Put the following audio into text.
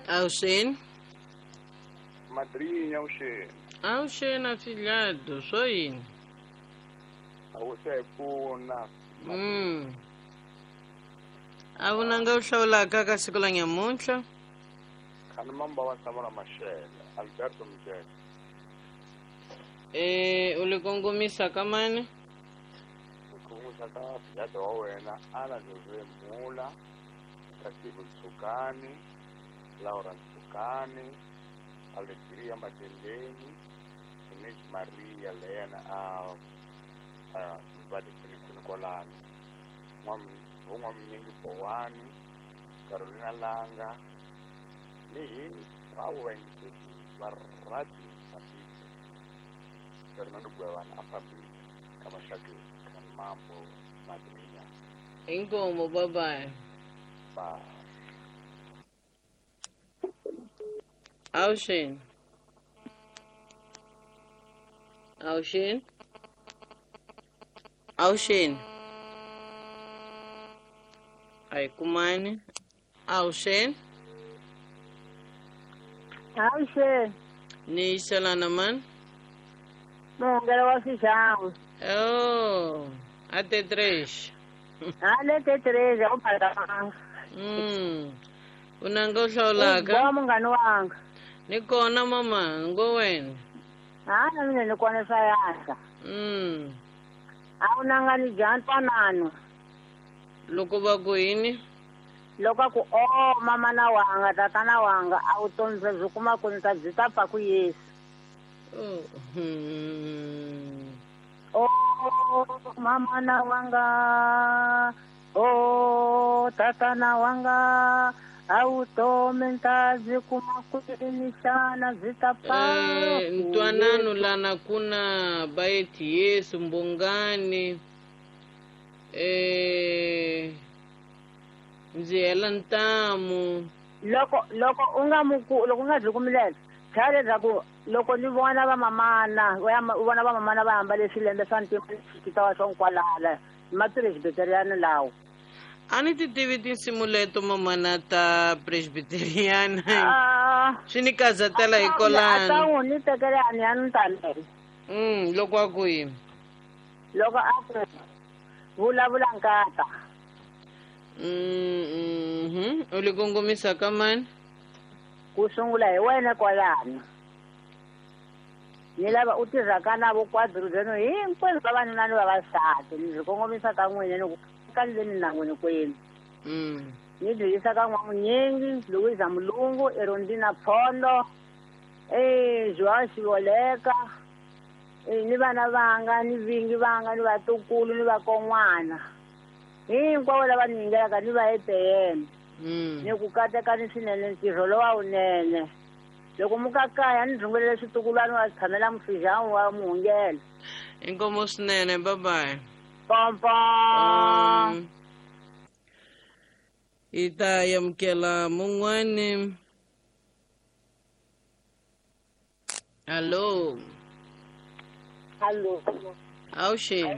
Avuxeni. Madrinha avuxeni. Avuxeni afilhado, swo yini? A wu se hi pfuna. A vunanga u hlawulaka ka siku la nyamuntlha? Khani mamba wa Samora Machel, Alberto Mjeke. U li kongomisa ka mani? Kongomisa ka afilhado wa wena Ana Jose Mula, Katibu Ntsukani, Laura Ntsukani, Alegria Matendeni, Inês Maria Lena a va kwini kwalano. N'waminyingi Bowani, Carolina Langa, ni hinkwavo vayingiseri va Radio Mozambique. Fernando Gwevana a fambile ka maxakeni ka mambo madrinya. Inkomo, bye bye. Bye. Avuxeni. Avuxeni. Avuxeni. A hi kumani. Avuxeni. Avuxeni. Ni yiselana mani? Muhungelo wa Swixangu. Oh, a T3. A le T3 a wu phakamanga. Unanga u hlawulaka? Wa munghana wanga. Ni kona mama, ngo wena. Ha na mina ni kona swa yaka. A wu nanga ni dya ntwanano. Loko va ku yini? Loko a ku o mama na wanga, tatana wanga, a wu vutomi byi kuma ku ni ta byi ta pfa ku Yesu. Oh. Oh mama na wanga, oh tatana wanga, a vutomi ta byi kuma kwini xana byi ta pfa Ntwanano lana kuna baeti Yesu mbongani. Ndzi hela ntamu. Loko loko u nga muku loko u nga byi kumilela chaya leswaku loko ni vona vamamana u vona vamamana va ambale swilembe swa ntima xikita swa nkwalala ma-presbyterian lawo. A ni ti tivi tinsimu leto mamana ta presbyterian. Swi ni kazatela hi kolano. A ta n'wi ni tekela ni ya ni tamele. Loko a ku yini? Loko a ku vulavula nkata. U li kongomisa ka mani? Ku sungula hi wena kwalano. Ni lava u tirhaka na vo kwadruzeno hinkwenu vavanuna ni vavasati. Ni byi kongomisa ka n'wina ni ku ka le minangwini kwenu. Ni byi yisa ka N'wamunyingi, Louisa Mulungu, Erondina Phondo, Joao Xivoleka, ni vana vanga, ni vingi vanga, ni vatukulu, ni vakon'wana. Hinkwavo lava ni yingelaka ni va EPM. Ni ku katekani swinene ntirho lowa wunene. Loko mukakaya ni rhungelele switukulwana wa tshamela mufijani wa muhungelo. Inkomo swinene, bye bye. Pom pom. Hi ta amukela mun'wani. Hallo. Hallo. Avuxeni.